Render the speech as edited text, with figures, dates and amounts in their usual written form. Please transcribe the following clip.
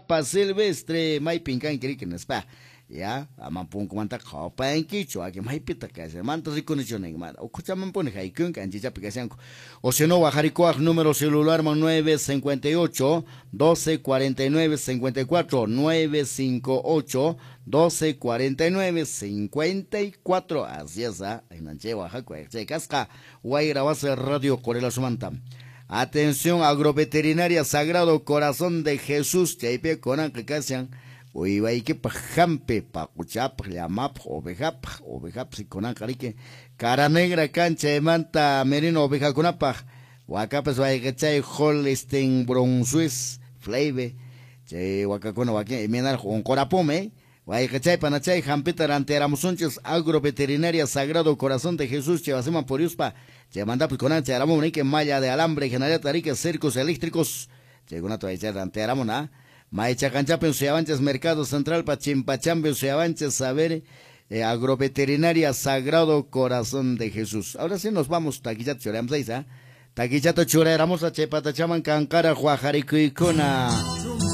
Papa Silvestre, maypin kanki riki nispa. Ya, ama punkumantaqa qhawapayankichu, wakin maypitaq kashan, manta rikunichu nin, mana ukhuchamanpuni haykunki anchichapi kashanku. O si no, wajarikuwaq número celularman 958 12 49 54, 958 12 49 54. Así es, ¿ah? Chay wajaku, chay kasqa Wayra Wasi Radio Qorilasumanta. Atención, Agroveterinaria Sagrado Corazón de Jesús, chaypi kunanqa kashan uywaykipaq hampi, paquchapaq, llamapaq, ovejapaq, ovejapaq kunanqa riki cara negra kan chaymanta merino ovejakunapaq, wakapas wayqichay Holstein Brunswick Fleive, chay wakakuna wakin imaynaraq unqurapumi, wayqichay panachay hampita rantiyaramusunchis Agroveterinaria Sagrado Corazón de Jesús, chay wasiman puriuspa, chaymantapas kunan chayaramun riki malla de alambre, hinallataq riki cercos eléctricos, chaykunata waychay rantiyaramun, ¿ah? Maychaqanchapin suyawanchis Mercado Central pa Chimpachampi suyawanchis, a ver, Agroveterinaria Sagrado Corazón de Jesús. Ahora sí nos vamos, taquillata churayamos ahí, ¿ah? Taquillata churayamos a chay patachaman kanqara wajarikuykuna.